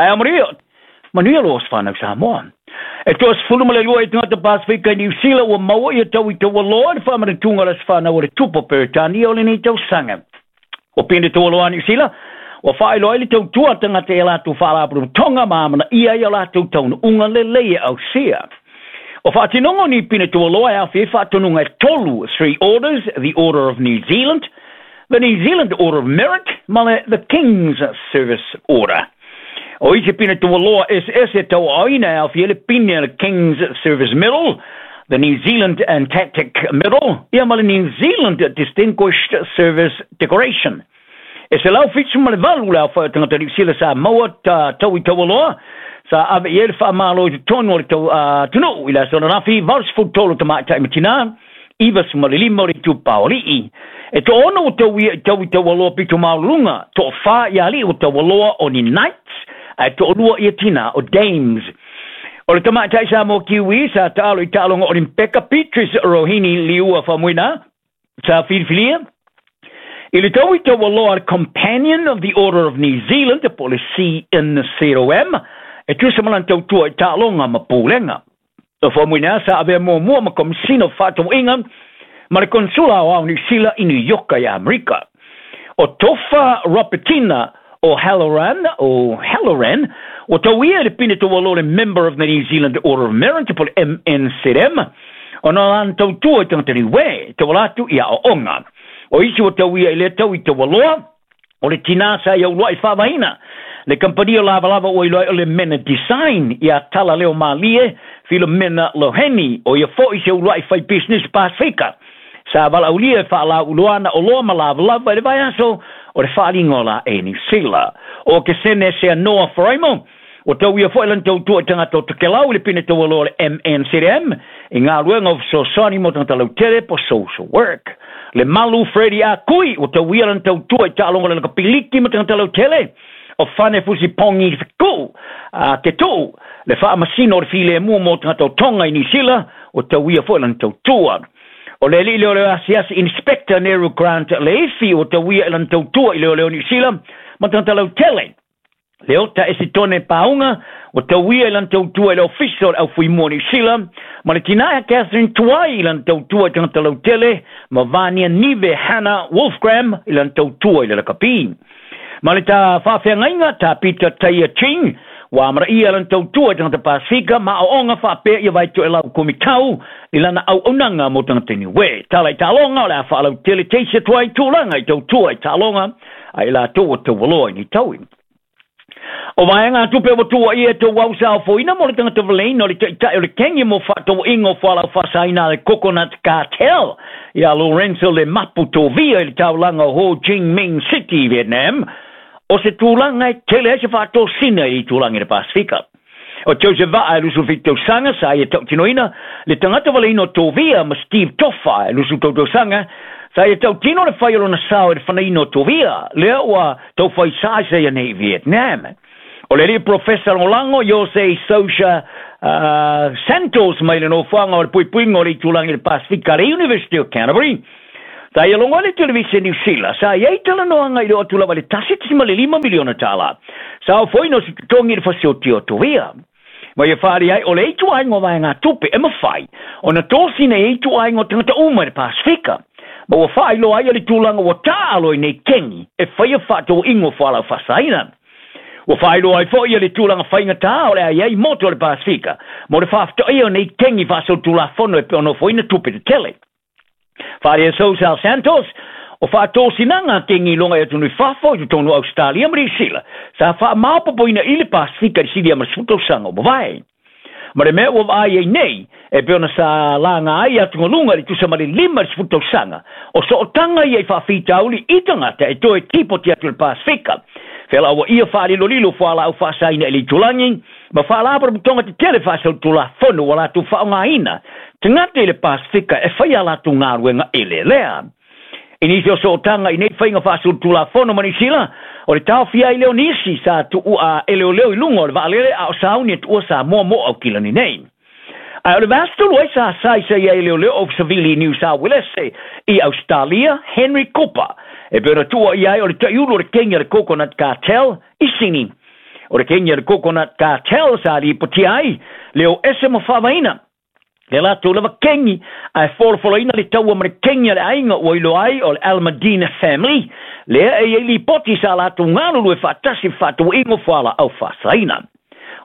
Taeao manuia. Manuia lo whanau Samoa. E 22 i tagata Pasifika i Niu Sila ua maua ia tau i taualoa i le faamanatuga o le Aso Fanau a le Tupu o Peretania o lenei tausaga. O pine taualoa a Niu Sila, ua faailoa ai le tautua a tagata i a latou faalapotopotoga ma amanaia ai a latou taunuuga lelei e ausia. O faatinoga o ni pine taualoa e aofia ai faatonuga e tolu, Three Orders, The Order of New Zealand, The New Zealand Order of Merit ma le The King's Service Order. O isi pine taualoa eseese e tauaaoina e aofia ai le pine a le King's Service Medal, the New Zealand Antarctic Medal, ia ma le New Zealand Distinguished Service Decoration. E 178 le aofai o tagata Niu Sila sa maua ta tau i taualoa, sa ave i ai le faamalo i totonu o le tau atunuu i le aso ananafi, 83 tamaitai ma tinā, 95 o le itupa o alii. E toaono ua tauia i tau i taualoa pito maualuluga, toafa i alii ua taualoa o ni Knights, ae toalua ia tinā o Dames. O le tamaitai Samoa Kiwi sa taalo i taaloga Olimpeka Beatrice Rohini Liua Faumuina, sa filifilia i le tau i taualoa le Companion of the Order of New Zealand po o le CNCOM, e tusa ma lana tautua i taaloga ma pulega. O Faumuina sa avea muamua ma Komesina o Faatauaiga ma le Konesula Aoao o Niu Sila i New Yorka i Amerika. O Tofa Robertina o Halloran, o Halloran, ua tauia i le pine taualoa le Member of the New Zealand Order of Merit po o le MNZM, ona o lana tautua i tagata niue, e tauala atu i aoaoga. O isi ua tauia i lea tau i taualoa, o le tinā sa i auluai faavaina le kamupani o Lavalava ua iloa ai o le Mena Design iā Tala Leo Malie Filomena Loheni, ʻo ia foʻi se uluai fai pisinisi Pasefika sa valaaulia e faalauiloa ana oloa ma lavalava i le vaiaso o le faaaliga o la e Niu Sila. ʻO Kesene Seanoa Faraimo, ua tauia foi lana tautua i tagata o Tokelau i le pine taualoa o le MNZM i galuega o fesoasoani mo tagata lautele po social work. Le Malu Freddie Ah Kui, ua tauia lana tautua i taaloga o le lakapiliki ma tagata lautele o Fane Fusi Pongi Fekuu a ke Tuu, le faamasino o le filemu mo tagata o Tonga i Niu Sila, ua tauia foi lana tautua. O le alii leoleo asiasi Inspector Neru Grant Leifi, ua tauia i lana tautua i leoleo Niu Sila ma tagata lautele. Leota Esitone Paunga, ua tauia i lana tautua i le Ofisa o le Aufuimua o Niu Sila, ma le tina ia Catherine Tuai i lana tautua i tagata lautele, ma Vania Nive Hannah Wolfgram i lana tautua i le lakapi. Ma le ta faafeagaiga, Tā Peter Taia Ching, ua amanaia lana tautua i tagata Pasifika ma aoaoga faapea ia Vaitoelau Komitau i lana auaunaga mo tagata Niue. Tala i taaloga, o le a faalautele teisi atu ai tulaga i tautua i taaloga a i latou ua taualoa i nei taui. O vaega tupe ua tuuaia e tou au sa ofoina mo le tagata valeina o le taitai o le kengi mo faatauaiga o fualaau faasaina a le Coconut Cartel ia Lorenzo Le Mapu Tovia i le taulaga o Ho Chi Minh City i Vietnam, o se tulaga e tele ai se faatosina i le itulagi o le Pasefika. O Joseph Vaa e 27 tausaga sa ia tautinoina le tagata valeina o Tovia ma Steve Tofa e 23 tausaga sa ia tautino le fai o lona sao i le fanaina o Tovia lea ua taufai sa ia nei i Vietnam. O le alii profesa lagolago Jose Sousa Santos mai le nofoaga o le puipuiga o le itulagi o le Pasefika a le University of Canterbury. Sa ia logo ai le televise Niu Sila, sa i ai talanoaga i le oo atu lava i le $1.5 miliona. Sa ofoina o se totogi i le fasioti o Tovia. Ma ia faaali ai o le ituaiga o vaegatupe e mafai ona tosina i ituaiga o tagata uma i le Pasefika. Ma ua faailoa ai le tulaga ua taalo i nei kengi e faia faatauaiga o fualaau faasaina. Ua faailoa ai foi le tulaga faigata o le a i ai motu o le Pasefika mo le faafetaia o nei kengi faasolitulafono e pei ona ofoina tupe tetele. Faaalia Sousa Santos, o faatosinaga a kengi i luga i atunuu i fafo i totonu o Ausetalia ma Niu Sila sa faamaopoopoina i le Pasefika i le silia ma le 10 tausaga ua mavae. Ma le mea ua vaai ai nei, e pei ona sa laga ai atugaluga i le tusa ma le 50 tausaga, o sootaga ia i faafitauli i tagata e toe tipoti atu i le Pasefika, felauaia faalilolilo fualaau faasaina i le itulagi, ma faalapotopotoga tetele faasolitulafono ua latou faaaogaina tagata i le Pasefika e fai a latou galuega eleelea. I nisi o sootaga i nei faiga faasolitulafono ma Niu Sila, o le taofia ai lea o nisi sa tuu a e leoleo i luga o le vaalele a o sauni e tuua Samoa mo Aukilani nei. Ae o le vaiaso talu ai sa saisai ai e leoleo o Savili i Niu Sauelese i Ausetalia, Henry Cooper, e pei ona tuuaia ai o le taiulu o le kengi a le Coconut Cartel i Sini. O le kengi a le Coconut Cartel sa lipotia ai le o ese ma faavaina le latou lava kengi ae folafolaina le taua ma le kengi a le aiga ua iloa ai o le Almadina Family lea e i ai lipoti sa latou galulue faatasi faatauaiga o fualaau faasaina.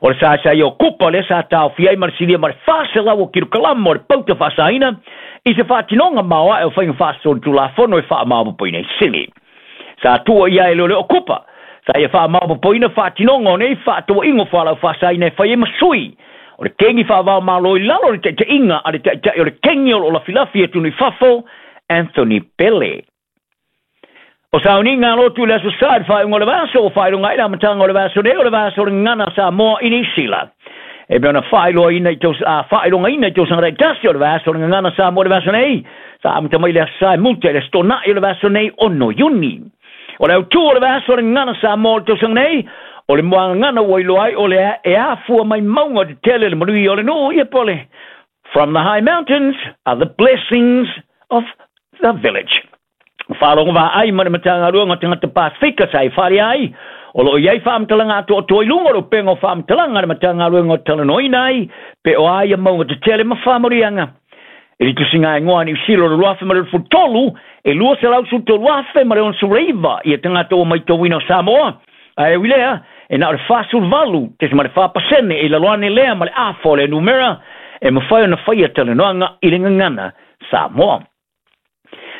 O le saesae o kupa lea sa taofia ai ma le silia ma le 400 o kilokalama o le pauta faasaina i se faatinoga maoae o faiga faasolitulafono e faamaopoopoina i sili. Sa tua i ai le o kupa sa ia faamaopoopoina faatinoga o nei faatauaiga o fualaau faasaina e fai ai ma sui o le kengi faavao malo i lalo o le taitaiga a le taitai o le kengi o loo lafilafi e i fafo Anthony Pele. O sauniga alotu i le aso Sa i le faaiuga o le vaiaso ua faailoga ai le amataga o le vaiaso nei o le vaiaso o le gagana Samoa i Niu Sila. E pei ona faailoaina i faailogaina i tausaga taitasi o le vaiaso o le gagana Samoa i le vaiaso nei, sa amata mai le aso Sa e muta i le aso Toonai o le vaiaso nei 6 Iuni. O le autū o le vaiaso o le gagana Samoa o le tausaga nei, o le muagagana ua iloa ai o le e afua mai mauga tetele le manuia o le nuu ia po o le From the high mountains are the blessings of the village. Faalogo vaai ma le Matagaluega o Tagata Pasefika sa e faaalia ai, o loo i ai faamatalaga atoatoa i luga o le upega o faamatalaga a le Matagaluega o talanoaina ai pe o a ia mauga tetele ma faamanuiaga. I le tusiga igoa a Niu Sila o le 2023, e 213,069 ma le ia tagata ua maitauina o Samoa, ae ui lea, e na o le 48.4% e i lalo ane lea ma le afa o le numera e mafai ona faia talanoaga i le gagana Samoa.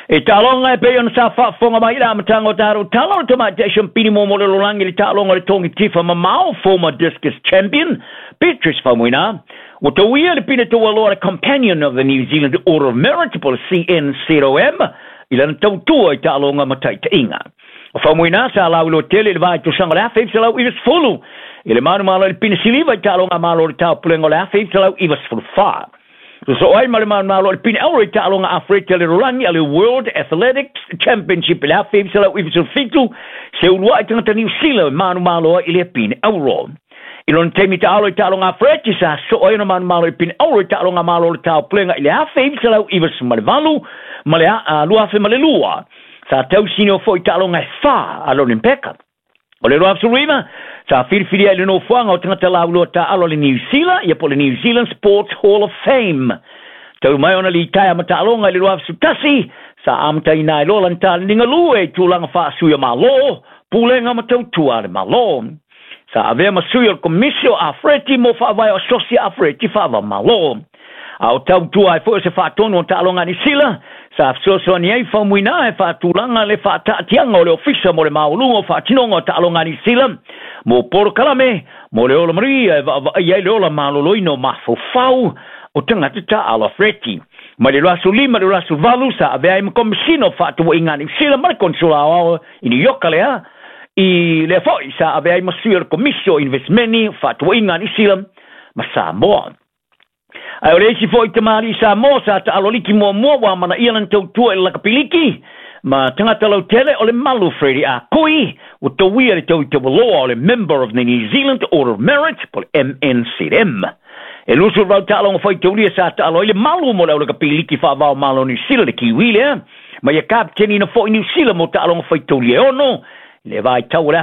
E taaloga e pei ona sa faafofoga mai i le amataga o tatou tala o le tamaitai siampini mo le lalolagi i le taaloga o le togi tifa mamao former discus champion Beatrice Faumuina ua tauia le pine taualoa le Companion of the New Zealand Order of Merit po le CNCOM i lana tautua i taaloga ma taitaiga. O Faumuina sa lauiloa tele i le vaitausaga o le 1990 i le manumalo i le pine siliva i taaloga a Malo o le Taupulega o le 1994. So ai ma le manumalo o le pine auro i taaloga Afereta le lalolagi a le World Athletics Championship i le 1997 se uluai tagata Niu Sila e manumalo ai i le pine auro. I lona taimi taalo i taaloga Afereti sa soo ai ona manumalo i pine auro i taaloga Malo o le Taupulega i le 1998 ma le 2002. Sa tausini o foi taaloga e 4 a le Olimpeka. O le 2019, sa filifili ai le nofoaga o tagata lauiloa taalo le Niu Sila, ia po le New Zealand Sports Hall of Fame. Talu mai ona litaea ma taaloga i le 2011, sa amataina ai loa lana taleniga lue i tulaga faasui o Malo, pulega ma tautua a le Malo. Sa avea ma sui o le Komisi o Afereti mo faavae o Asosi Afereti faava Malo. A o tautua ai foi o se faatonu o taaloga a Niu Sila, sa fesoasoani ai Faumuina e faatulaga le faataatiaga o le Ofisa mo le maualuga o faatinoga o taaloga a Niu Sila mo polokalame mo le ola manuia e vaavaai ai le ola maloloina o mafaufau o tagata taaalo afereti. Mai le 2005 i le 2008 sa avea ai ma Komesina o Faatauaiga a Niu Sila ma le Konesula Aoao i New York lea i lea foi sa avea ai ma sui o le Komisi o Investmeni o Faatauaiga a Niu Sila ma Samoa. Ae o le isi foi tamalii Samoa sa taalo liki muamua ua amanaia lana tautua i le lakapiliki ma tagata lautele o le Malu Freddie Akui ua tauia le tau i taualoa o le Member of the New Zealand Order of Merit po le MNZM. E 28 taaloga faitaulia sa taalo ai le Malu mo le au lakapiliki faavao Malo Niu Sila le Kiwi lea ma ia kapiteniina foi Niu Sila mo taaloga faitaulia e 6 i le vaitau o le